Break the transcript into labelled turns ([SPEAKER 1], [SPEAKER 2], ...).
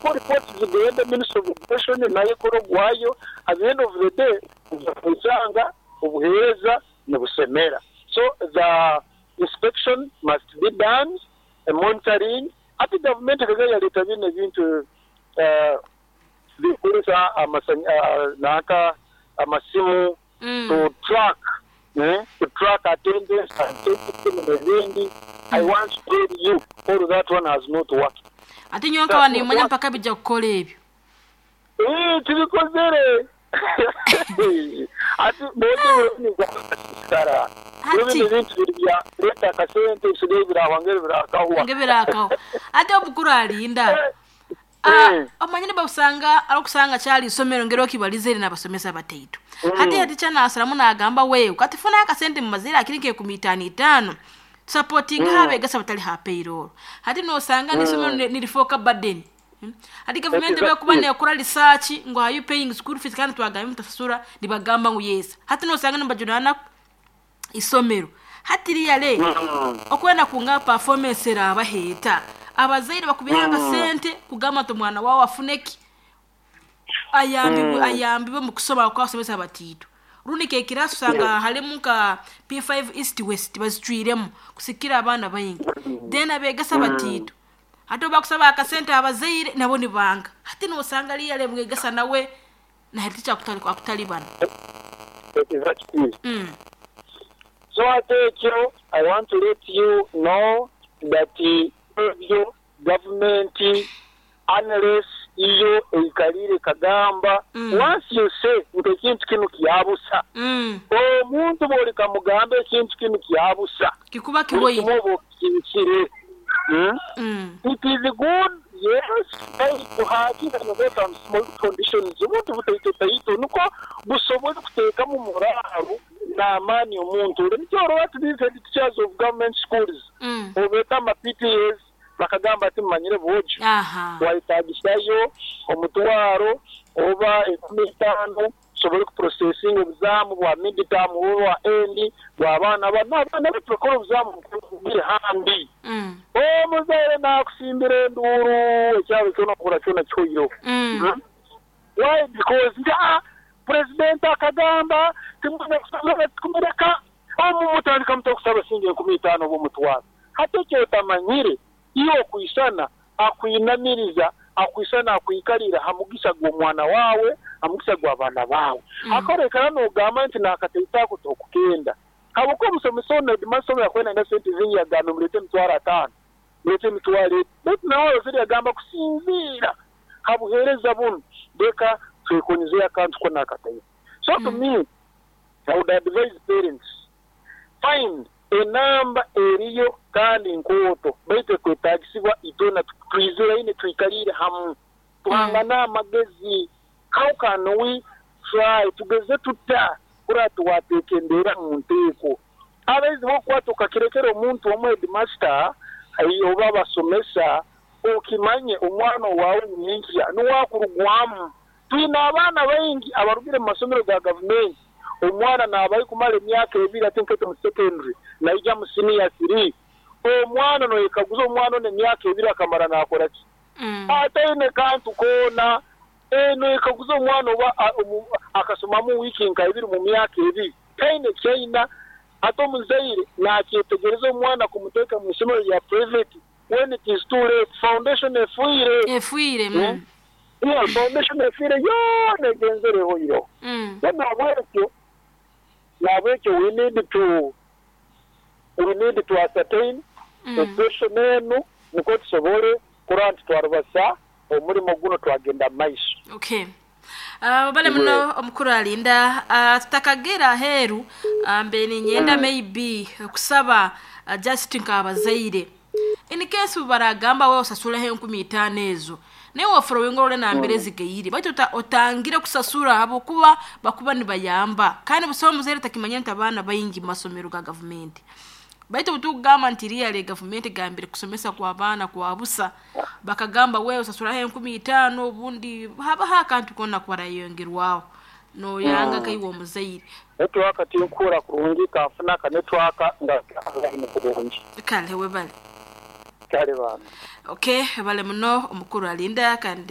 [SPEAKER 1] Report zigende Ministry of Education nayo ekore ogwayo, at the end of the day oija kwesanga obuheereza nibusemera. So the inspection must be done, monitoring. Hati gavumenti ekaba yaleeta binu ebintu ebyokukozesa nanka amasimu to track to track attendance absenteeism nebindi, I want to tell you all that one has not worked.
[SPEAKER 2] Ate nyowe nkaba nimanya mpaka bija kukora ebyo.
[SPEAKER 1] Eeh tibikozere Ati bwojo nigwakasisikara. Biro binu ebintu biri bya leeta akasente ebisigaire birahwa ngeri birakahwa.
[SPEAKER 2] Nge birakahwa. Ate omukuru alinda. Ah, omanyire bakusanga arokusanga kyali isomero ngeri okibaliza eri nabasomesa bataito. Hati hati nasaramu nagamba wewe kati funa akasente mumazire akiri nke enkumi itaano itaano tusapotinga mm. abegesa batali ha payroll. Hati nosanga n'isomero nirifoka burden. Hati gavumenti bwekuba nekora research ngu are you paying school fees kandi twagambye mutasasura nibagamba ngu yes. Hati nosanga nibajunana isomero. Hati really okwenda kungaba performance erabaho eta? Abazaire bakubiha akasente kugamba nti omwana wawe afune ki? Ayambibwe ayambibwe omu kusoma ahabw'okuba abasomesa bataito. Rundi nk'ekiraasi osanga harimu nka P5 East West bazicwiremu kusikira abaana baingi. Then abeegesa bataito. Hati obu bakusaba akasente abazaire nabo nibanga. Hati nosanga really omwegesa nawe na head teacher akutalibana.
[SPEAKER 1] Exactly. So hati ekyo I want to let you know that ebyo gavumenti unless iyo eikaliire ekagamba once you say nti ekintu kinu kyabusa, omuntu bwolikamugamba ekintu kinu kyabusa,
[SPEAKER 2] Kikuba
[SPEAKER 1] buli
[SPEAKER 2] kihoire.
[SPEAKER 1] kimu oba okikibikire. It is good yes baitu hakire habeho some small conditions obuntu butaito taito nukwo busobole kuteekamu moraalu n'amaani omuntu ole. Nikyo orora ati these head teachers of government schools obeeta ama PTAs bakagamba ati mumanyire bwojo twayetagisayo omutwaro oba enkumi itaano tusobole ku processinga obuzaamu bwa mid term oba bwa end bwa baana banu. Abaana baitu bakora obuzaamu buri handi. Omuzaire nakusimbira enduuru ekyaro kyona ohurra kyona kihoireho. Why? Because nti aa Pulezidenti akagamba timwine kusaba tikumureka omu mutandika muta okusaba siringi enkumi itaano oba omutwaro. Hati ekyotamanyire iwe okwisana akwinamiriza, akwisana akwikalira ha mugisa gw'omwana waawe, ha mugisa gw'abaana baawe. Akorekana n'ogamba nti n'akataito ako tokukenda. Habwokuba omusomesa onu headmaster onu yakubaire naenda sente zingi yagambe muleete emitwaro ataano, muleete emitwaro eti. Baitu nawe arozeire yagamba kusinziira ha buheereza bunu leka twekonyezeyo akantu kona akataito. So to me, I would advise parents, find enamba eriyo kandi nkooto baitu ekwetaagisibwa itwena twiziraine twikaliire hamu tuhangane amagezi how can we try tugeze tuta kurora twateeka embeera mu nteeko. Abaizi b'okukwata okakirekera omuntu omu headmaster oba abasomesa okimanye omwana owaawe nyenkya nuwe akurugwamu. Twine abaana baingi abarugire mu masomero ga gavumenti, omwana naabayo kumara emyaka ebiri ati nkaitwe mu secondary naija mu siniya thiri. Omwana noyekaguza omwana onu emyaka ebiri akamara naakora ki? Ataine kantu koona. Noyekaguza omwana oba akasomamu wiiki nka ibiri mu myaka ebiri, taine kyaina. Ate omuzaire naakyetegereza omwana kumuteeka mu isomero lya private when it is too late, foundation efiire.
[SPEAKER 2] Efiire.
[SPEAKER 1] Yeah, foundation efiire yoona egenzere ehoireho. So nahabwekyo, nahabwekyo we need to, we need to ascertain education enu nikwo tusobole kurora nti twarubasa omurimo guno twagenda mu maiso.
[SPEAKER 2] Okay. Webale muno omukuru Alinda. Tutakagera aheeru, mbe niinyenda maybe kusaba just nk'abazaire. In case obu baragamba we osasuleho enkumi itaano ezo, naiwe oforowinge orole nambere zigaire. Baitu otangire kusasura habwokuba bakuba nibayamba. Kandi busaho omuzaire atakimanyire nti abaana baingi mu masomero ga gavumenti. Baitu obu tukugamba nti really gavumenti egambire kusomesa kw'abaana kwa busa, bakagamba wewe osasuraho enkumi itaano obundi habaho akantu koona kubarayongerwaho. Noyanga kaiwe omuzaire.
[SPEAKER 1] Network tinkuhurra kurungi kanfune aka network nga online kurungi.
[SPEAKER 2] Kale webale.
[SPEAKER 1] Kale bambi.
[SPEAKER 2] Okay, webale muno omukuru Alinda kandi.